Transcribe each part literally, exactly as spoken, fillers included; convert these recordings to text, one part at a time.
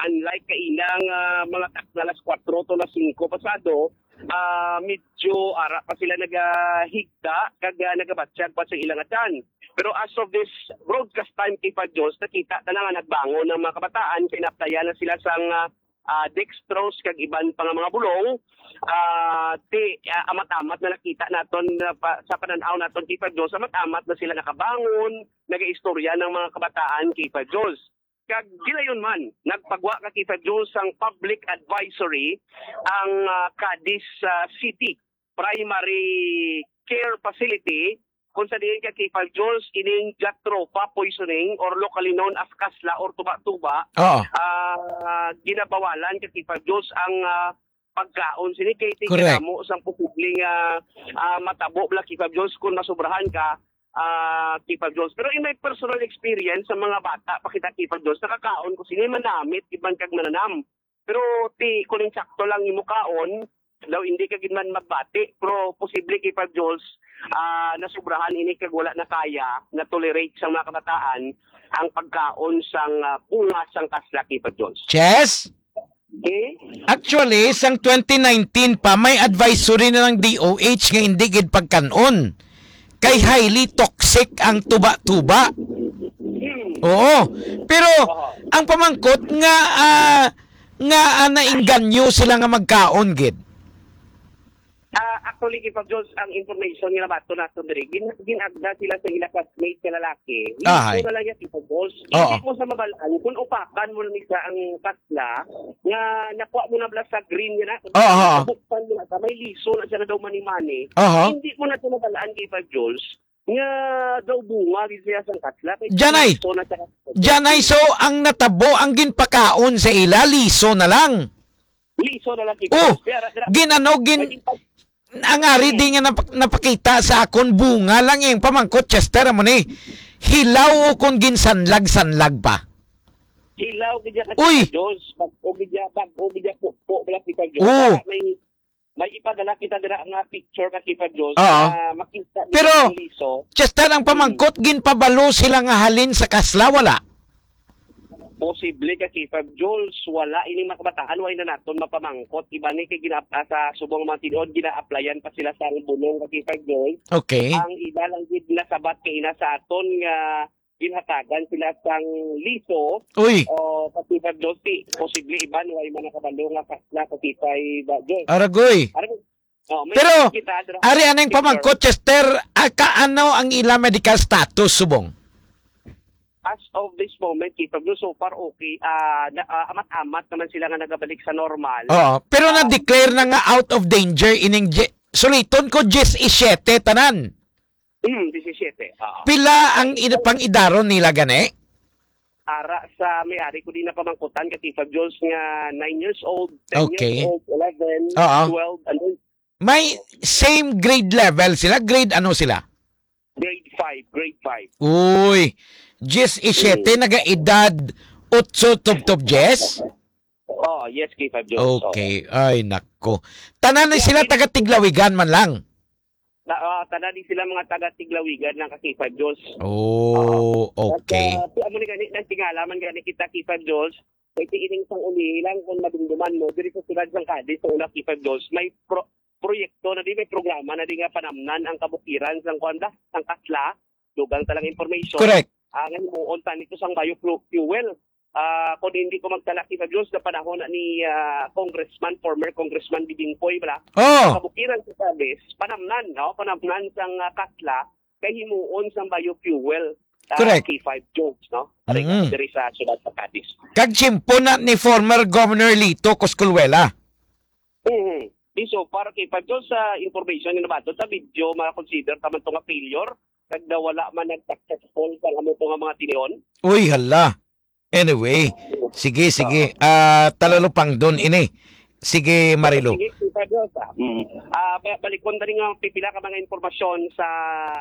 Unlike kaina nga mga takna alas kuwatro to alas singko pasado, ah, medyo ara pa sila nagahigda kag, ah, nagabatsyag pa sa ilang atan. Pero as of this broadcast time, K five Jones, nakita na nga nagbangon ang mga kabataan, kay naaplayan na sila sang, ah, ah, dextrose kag iban pa nga mga bulong. Ah, ti, ah, amat-amat na nakita naton na pa, sa panan-aw naton, K five Jones, amat-amat na sila nakabangon, nagaistorya ng mga kabataan, K five Jones. Kag gilayon man, nagpagwa ka, K five Jones, sang public advisory ang, ah, Cadiz, ah, City Primary Care Facility, kung sa diin ka, K five Jones, ining jatropha poisoning or locally known as kasla or tuba-tuba, Oo. ah, ginabawalan ka, K five Jones, ang, ah, pagkaon sini kay Correct. Tigkadamo sang posibleng, ah, ah, matabo bala, K five Jones, kung masobrahan ka, ah, K five Jones. Pero in my personal experience, sa mga bata pa kita, K five Jones, nakakaon ko sini, manamit iban kag mananam. Pero ti kuning sakto lang imo kaon, daw hindi ka gid man magbati, pero posible, K five Jones, ah, nasobrahan ini kag wala na kaya na tolerate sa mga kabataan ang pagkaon sang, ah, bunga sang kasla, K five Jones. Chess? Okay? Actually, sang twenty nineteen pa, may advisory na ng D O H nga hindi gid pagkanon. Kay highly toxic ang tuba-tuba. Oo. Pero ang pamangkot nga, ah, nga, ah, nainganyo sila nga magkaon gid. Ah, actually, K five Jones, ang information nga nabaton naton diri, gin-, ginagda sila sa ila classmate nga lalaki. Ahay. Liso na lang yan, K five Jones. Oo. Hindi mo sa mabalaan kung upakan mo na ni sa ang kasla nga nakuha mo na bala sa green nga na. Oo, oo. Buksan mo na sa may liso na siya na daw mani-mani. Aha. Hindi mo na sa mabalaan, K five Jones, nga daw bunga gid siya sang kasla. Kay Janay. Liso na siya. Janay, so ang natabo, ang ginpakaon sa ila, liso na lang. Liso na lang, K five Oh, Jones. Kaya ra-, ra-, ginano, gin-, naging pag- ang ari di nga nap-, napakita sa akon, bunga lang yung pamangkot, Chester, amo ni. Hilaw o kung ginsanlag-sanlag pa. Hilaw gid ya, Uy! Jones. Bag-o gid ya, bag-o gid ya, po, po, bala kita, Jones. Oo. Para may, may ipadala kita dira nga picture ka, K five Jones, Oo. na makita nila Pero, ang liso. Chester, ang Hmm. pamangkot, ginpabalo sila nga halin sa kasla, wala? Posible ka, K five Jones, wala ini mga kabataan, wala na naton mapamangkot. Iba ni kay gina-, ah, sa subong mga tinuod, gina-applyan pa sila sa bulong ka, K five Jones. Okay. Ang iba lang gid nasabat kay ina sa aton nga ginhatagan sila sang liso. Uy. O, ka, K five Jones, ti, posible iban, wala man nakabalo nga kasla ka, K five Jones. Aragoy. Aragoy. Oh, may Pero, kita, dra-, ari, anong picture. Pamangkot, Chester, ah, kaano ang ila medical status, subong? As of this moment, K five Jones, so far okay. Ah, na, ah, amat-amat naman sila nga nagabalik sa normal. Oo, pero Ah, na-declare na nga out of danger ining je-, suliton ko, diyes y siyete tanan. Mm, disisiyete. Oo. Pila ang id-, pang-idaron nila gani? Ara sa may ari ko di napamangkutan ka K five Jones nga nine years old, ten Okay. years old, eleven, Oo. twelve, and then May same grade level sila? Grade ano sila? Grade five, grade five. Uy, diyes y siyete, Mm. nagaedad otso tubtob diyes? Oh, yes, K five Jones. Okay. Ay, nako. Tanan ni sila taga Tiglawigan man lang? Na, ah, tanan ni sila mga taga Tiglawigan lang ka K five Jones. Oh, okay. At, ah, amo ni gani, nagtingala man gani kita K five Jones. Kay ti ining sang uli lang kung madumduman mo, diri sa siyudad sang Cadiz, sa una K five Jones, may pro-, proyekto na di, may programa na di nga panamnan ang kabukiran sang kuwan ba, sang kasla, dugang talang information. Correct. Ah, nga himuon tani to sang biofuel. Ah, kung hindi ko magtala, K five Jones, sa panahon na ni, ah, Congressman, former Congressman Bibingkoy, bala? Oh. Sa kabukiran sa Cadiz, panamnan, no? Panamnan sang, ah, kasla, kay himuon sang biofuel, ah, Correct. K five Jones, no? Ari, Mm. diri sa siyudad sa Cadiz. Kag tiyempo na ni former Governor Lito Cosculuela. Mm. Di so far, K five Jones, sa information nga nabaton, sa video, ma-consider taman to nga failure, kag na wala man nag-successful sa amo to nga mga tinion. Uy, hala. Anyway, sige, sige. Ah, talalupang doon ini. Sige, Marilu. Sige, K five Jones, ah. Mm. Ah, ba-, balikon na rin nga pipila ka mga impormasyon sa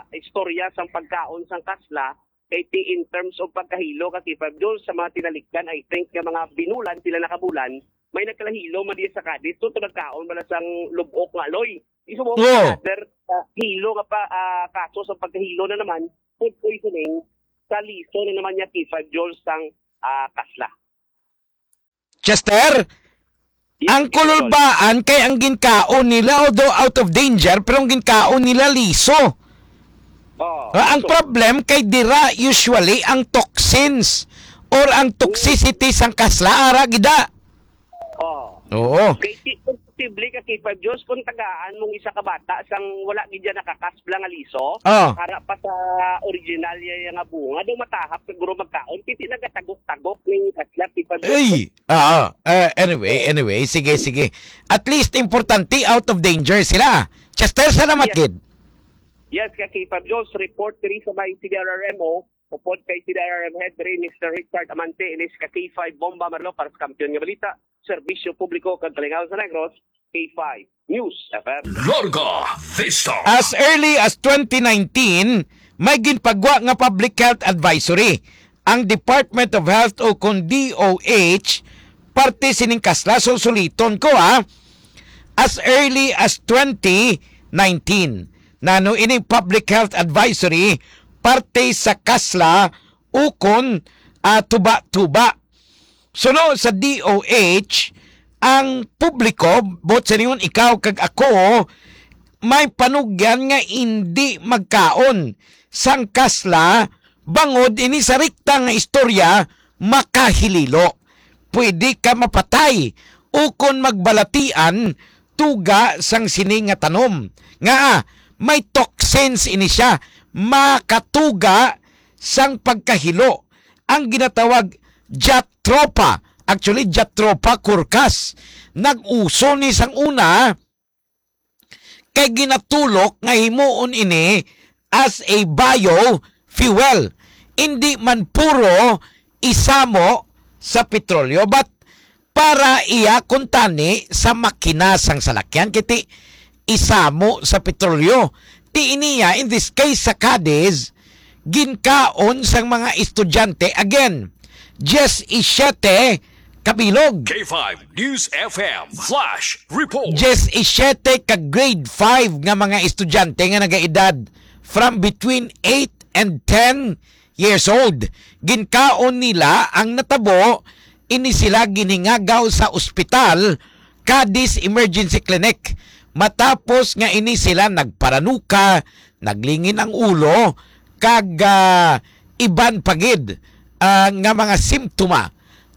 istorya sang pagkaon sang kasla, kay ti in terms of pagkahilo ka K five Jones sa mga tinalikdan, I think nga mga binulan sila nakabulan, may nagkalahilo man diya sa Cadiz, so to nagkaon bala sang lubok nga aloy. Iso mo, Oo. another, ah, hilo nga pa, ah, kaso sa pagkahilo na naman, food poisoning, sa liso na naman niya K five Jones sang, ah, kasla. Chester, Yes, ang Mister Tol. Kululbaan kay ang ginkaon nila, although out of danger, pero ang ginkaon nila liso. Oh, Ah, ang so problem kay dira usually ang toxins or ang toxicity sang kasla ara gida. Oh. Oo. Kay ti-, kung posible ka, K five Diyos, kung tagaan mong isa ka bata sang wala gid siya nakakasbla nga liso, Ah. Para pa sa original niya nga bunga, daw matahap siguro magkaon, kay ti nagatagok-tagok ning kasla, K five Diyos. Ay, ah, ah, anyway, anyway, sige, sige. At least importante out of danger sila. Chester, salamat Yes. gid. Yes, ka K five Diyos, report diri sa may C D R R M O, upod kay C D R R M Head diri, Mister Richard Amante, inis ka K five Bomba Marlo para sa Kampiyon nga Balita, Serbisyo Publiko kag Kalingawan sa Negros, K five News F M. Larga Vista. As early as twenty nineteen, may ginpagwa nga public health advisory ang Department of Health o kon D O H parte sining kasla. So, suliton ko, ha, as early as twenty nineteen. Nano ining public health advisory parte sa kasla ukon, ah, tuba-tuba. Suno sa D O H, ang publiko, buot silingon ikaw kag ako, may panugyan nga indi magkaon sang kasla bangod ini sa rekta nga istorya makahililo. Pwede ka mapatay ukon magbalatian tuga sang sini nga tanom. Nga, ah, may toxins ini siya, makatuga sang pagkahilo, ang ginatawag Jatropha. Actually, Jatropha curcas. Nag-uso ni sang una kay ginatulok nga himuon ini as a biofuel. Indi man puro isamo sa petrolyo, but para iya kuntani sa makina sang salakyan, kay ti isamo sa petrolyo. Ti iniya, in this case, sa Cadiz, ginkaon sang mga estudyante, again, diyes y siyete kabilog. K five News F M Flash Report. Diyes y siyete ka grade five nga mga estudyante nga nagaedad from between eight and ten years old. Ginkaon nila ang natabo, ini sila ginhingagaw sa ospital, Cadiz Emergency Clinic. Matapos nga ini sila nagparanuka, naglingin ang ulo, kag, ah, iban pa gid, ah, nga mga simptoma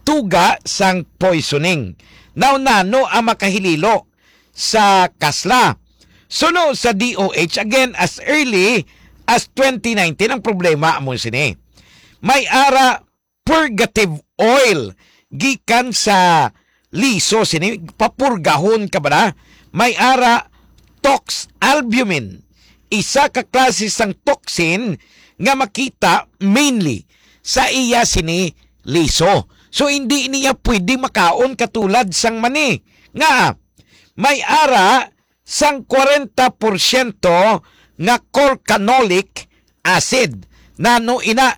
tuga sang poisoning. Now, nano ang makahililo sa kasla? Suno sa D O H, again, as early as twenty nineteen, ang problema amo sini. May ara purgative oil gikan sa liso sini, papurgahon ka ba na? May ara tox albumin, isa ka klase sang toxin nga makita mainly sa iya sini liso. So, hindi niya pwede makaon katulad sang mani. Nga, may ara sang kwarenta porsyento nga corcanolic acid. Nano ina?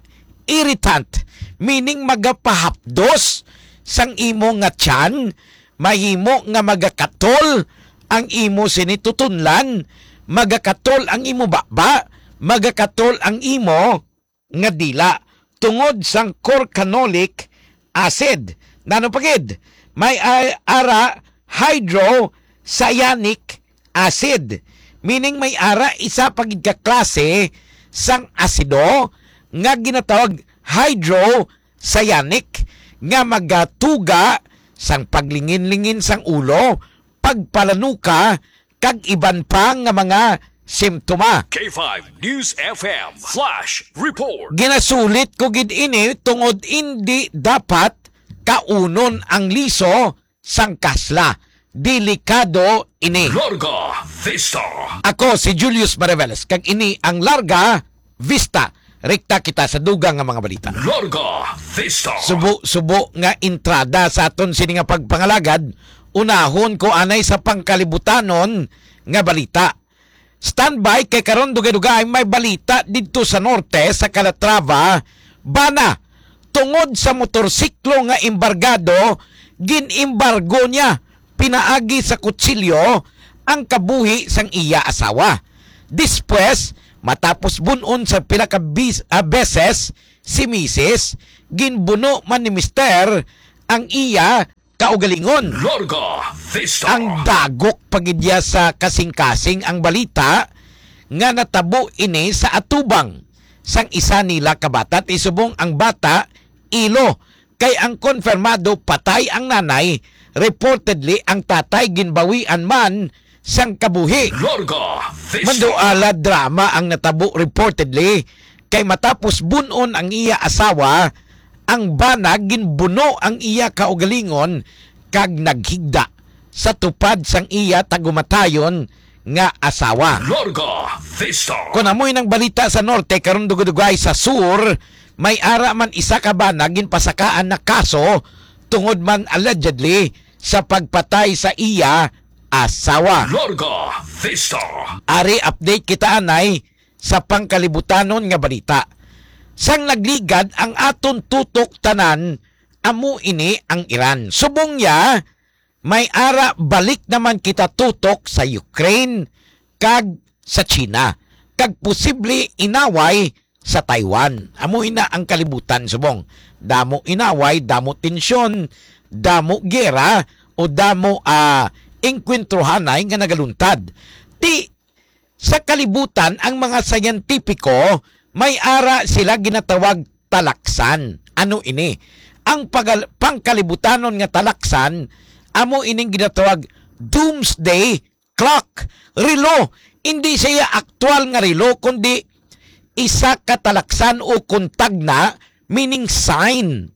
Irritant, meaning magapahapdos sang imo nga tiyan, mahimo nga magakatol ang imo sini tutunlan, magakatol ang imo baba, magakatol ang imo nga dila tungod sang corcanolic acid. Nano pa gid? May a-, ara hydrocyanic acid, meaning may ara isa pa gid ka klase sang asido nga ginatawag hydrocyanic nga magatuga sang paglingin-lingin sang ulo, pagpalanuka, kag iban pa nga mga simptoma. K five News F M Flash Report. Ginasulit ko gid ini tungod indi dapat kaunon ang liso sang kasla. Delikado ini. Larga Vista. Ako si Julius Mariveles, kag ini ang Larga Vista. Rekta kita sa dugang nga mga balita. Larga Vista. Subo-subo nga entrada sa aton sini nga pagpangalagad, unahon ko anay sa pangkalibutanon nga balita. Standby, kay karon dugay-dugay may balita didto sa norte, sa Calatrava, bana, tungod sa motorsiklo nga embargado, gin-embargo niya pinaagi sa kutsilyo ang kabuhi sang iya asawa. Despues, matapos bun-on sa pila ka bis-, ah, beses si misis, ginbuno man ni mister ang iya kaugalingon. Larga Vista. Ang dagok pa gid ya sa kasing-kasing ang balita nga natabo ini sa atubang sang isa nila ka bata. Ti subong ang bata, ilo, kay ang konfirmado patay ang nanay, reportedly ang tatay ginbawian man sang kabuhi. Larga Vista. Manduala, drama ang natabo reportedly, kay matapos bun-on ang iya asawa, ang bana ginbuno ang iya kaugalingon kag naghigda sa tupad sang iya tagumatayon nga asawa. Larga Vista. Kon amoy nang balita sa norte, karon dugay-dugay sa sur, may ara man isa ka bana ginpasakaan na kaso tungod man allegedly sa pagpatay sa iya asawa. Larga Vista. Ari, update kita anay sa pangkalibutanon nga balita. Sang nagligad ang aton tutok tanan, amo ini ang Iran. Subong niya, may ara balik naman kita tutok sa Ukraine kag sa China, kag posible inaway sa Taiwan. Amo ina ang kalibutan subong. Damo inaway, damo tensyon, damo gera, o damo, ah, engkwentrohanay nga nagaluntad. Ti sa kalibutan, ang mga siyentipiko may ara sila ginatawag talaksan. Ano ini? Ang pagal-, pangkalibutanon nga talaksan, amo ining ginatawag doomsday clock, relo. Hindi siya aktual nga relo, kundi isa ka talaksan o kuntagna, meaning sign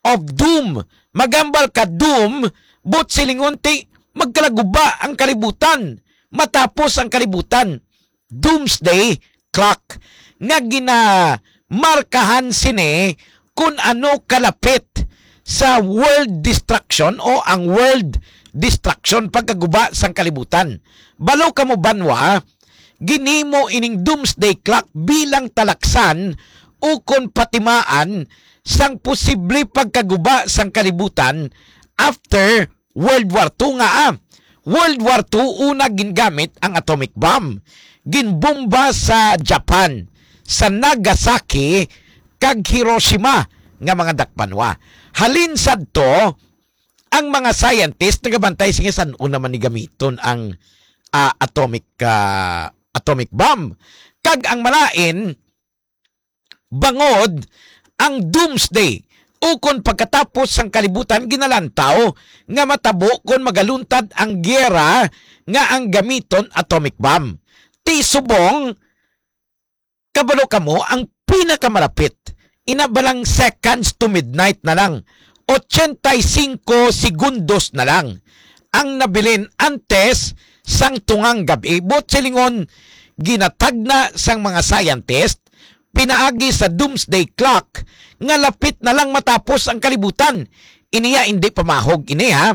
of doom. Magambal ka doom, but silingon ti magkalaguba ang kalibutan, matapos ang kalibutan. Doomsday clock nga ginamarkahan sini kun ano kalapit sa world destruction o ang world destruction, pagkaguba sang kalibutan. Balo kamo banwa, ginhimo ining doomsday clock bilang talaksan ukon patimaan sang posible pagkaguba sang kalibutan after World War Two nga, ah. World War Two, una gingamit ang atomic bomb. Ginbomba sa Japan, sa Nagasaki kag Hiroshima nga mga dakbanwa. Halin sadto, ang mga scientist nagabantay, sige, san-o naman ni gamiton ang, ah, atomic, ah, atomic bomb. Kag ang malain, bangod ang doomsday, ukon pagkatapos sang kalibutan, ginalantaw nga matabo kon magaluntad ang giyera nga ang gamiton atomic bomb. Ti subong, kabalo kamo, ang pinakamalapit, ina ba lang seconds to midnight na lang, ochenta y cinco segundos na lang ang nabilin antes sang tungang gab-i. Buot silingon, ginatagna sang mga scientist pinaagi sa doomsday clock nga lapit na lang matapos ang kalibutan. Iniya indi pamahog ini, ha.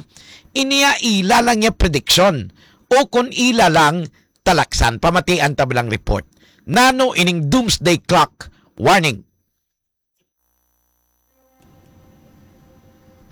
Iniya ila lang niya prediction o kon ila lang talaksan. Pamatian ta lang report. Nano ining doomsday clock warning?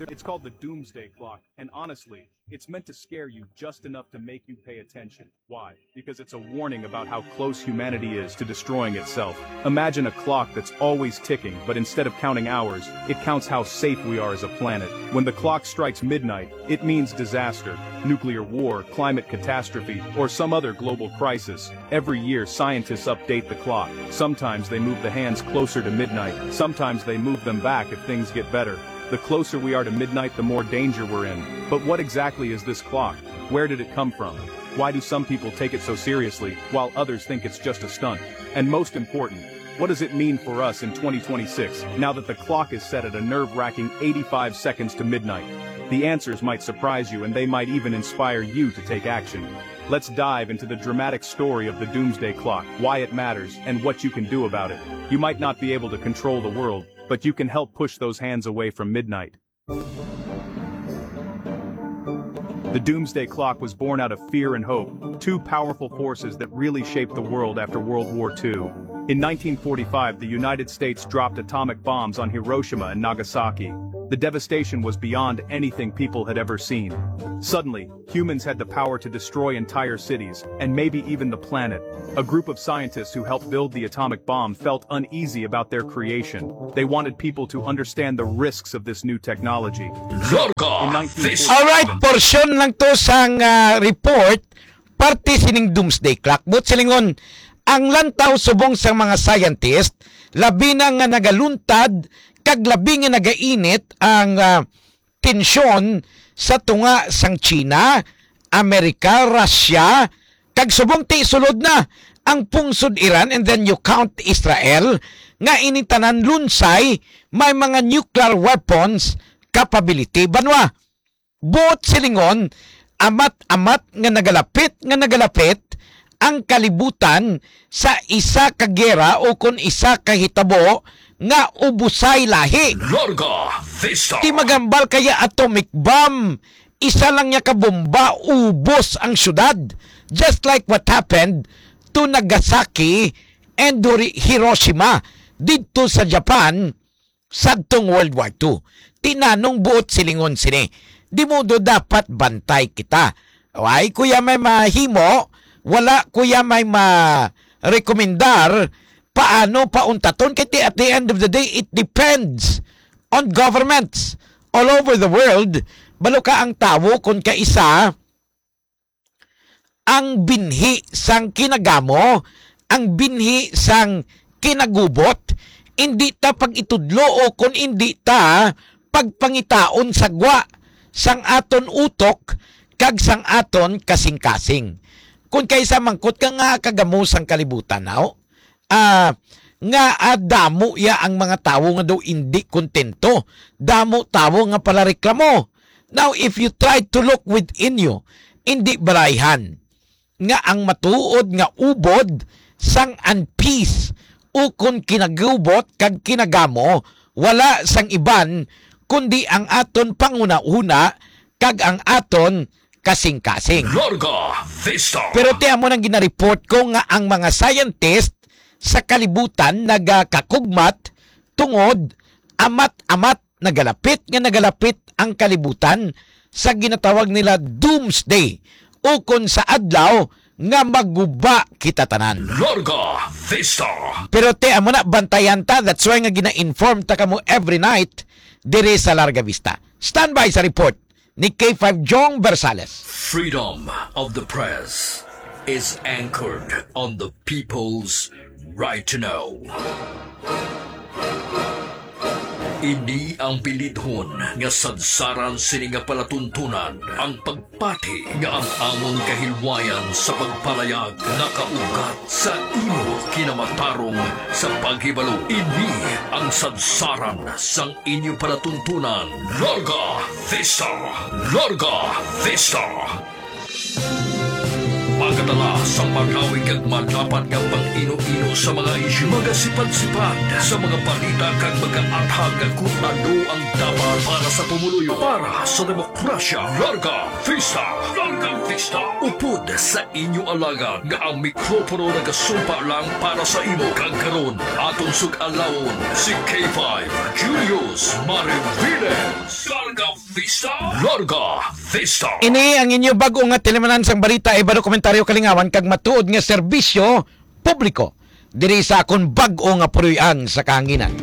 It's called the Doomsday Clock, and honestly, it's meant to scare you just enough to make you pay attention. Why? Because it's a warning about how close humanity is to destroying itself. Imagine a clock that's always ticking, but instead of counting hours, it counts how safe we are as a planet. When the clock strikes midnight, it means disaster, nuclear war, climate catastrophe, or some other global crisis. Every year, scientists update the clock. Sometimes they move the hands closer to midnight. Sometimes they move them back if things get better. The closer we are to midnight, the more danger we're in. But what exactly is this clock? Where did it come from? Why do some people take it so seriously, while others think it's just a stunt? And most important, what does it mean for us in twenty twenty-six, now that the clock is set at a nerve-wracking eighty-five seconds to midnight? The answers might surprise you, and they might even inspire you to take action. Let's dive into the dramatic story of the Doomsday Clock, why it matters, and what you can do about it. You might not be able to control the world, but you can help push those hands away from midnight. The Doomsday Clock was born out of fear and hope, two powerful forces that really shaped the world after World War Two. In nineteen forty-five, the United States dropped atomic bombs on Hiroshima and Nagasaki. The devastation was beyond anything people had ever seen. Suddenly, humans had the power to destroy entire cities, and maybe even the planet. A group of scientists who helped build the atomic bomb felt uneasy about their creation. They wanted people to understand the risks of this new technology. Larga In nineteen forty This Alright, portion lang to sang ah, report, parte sining doomsday clock. But silingon, ang lantaw subong sang mga scientist, labi na nga nagaluntad, kag labi nga nagainit ang ah, tensyon sa tunga sang China, Amerika, Russia, kag subong ti sulod na ang pungsod Iran, and then you count Israel, nga ini tanan lunsay may mga nuclear weapons capability. Banwa, buot silingon, amat-amat nga nagalapit, nga nagalapit ang kalibutan sa isa ka gera o kon isa ka hitabo nga ubusay lahi. Larga Vista. Di magambal kaya atomic bomb, isa lang niya ka bomba, ubos ang syudad. Just like what happened to Nagasaki and Hori- Hiroshima didto sa Japan sadtong World War Two. Tinanong buot silingon sini. Di mo do dapat bantay kita. Ay, kuya may mahimo, wala kuya may ma-recommendar, paano pauntaton? Kay ti- at the end of the day, it depends on governments all over the world. Balo ka ang tawo kung kaisa ang binhi sang kinagamo, ang binhi sang kinagubot, indi ta pag-itudlo o kon indi ta pagpangitaon sa gwa sang aton utok kag sang aton kasing-kasing. Kon kaysa mangkot ka nga kagamo sang kalibutan, naw? Ah, nga ah, damo ya ang mga tawo nga daw indi kontento, damo tawo nga palareklamo. Now, if you try to look within you, indi barayhan nga ang matuod nga ubod sang unpeace ukon kinagubot kag kinagamo wala sang iban kundi ang aton panghunahuna kag ang aton kasing-kasing. Larga Vista. Pero ti amo nang ginareport ko nga ang mga scientist sa kalibutan nagakakugmat tungod amat-amat nagalapit nga nagalapit ang kalibutan sa ginatawag nila doomsday, ukon sa adlaw nga maguba kita tanan. Larga Vista. Pero ti amo na, bantayan ta. That's why nga gina-inform ta kamo every night diri sa Larga Vista. Standby sa report ni K five Jong Versales. Freedom of the press is anchored on the people's right to know. Ini ang bilidhon nga sadsaran sini nga palatuntunan, ang pagpati nga ang amon kahilwayan sa pagpalayag nakaugat sa imo kinamatarong sa paghibalo. Ini ang sadsaran sang inyo palatuntunan. Larga Vista! Larga Vista! Magadala sa malawig kag madapat nga pang-ino-ino sa mga isyu, magasipad-sipad sa mga balita kag magaathag kon ano ang dapat para sa pumuluyo, para sa demokrasya. Larga Vista! Larga Vista! Upod sa inyo alagad nga ang mikropono nagasumpa lang para sa imo. Kag karon, aton sug-alawon si K five Julius Mariviles. Larga Vista! Larga Vista! Ini ang inyo bag-o nga tilimanan sang balita, iba, dokumentaryo, kalingawan, kag matuod nga serbisyo publiko diri sa akon bag-o nga puloy-an sa kahanginan.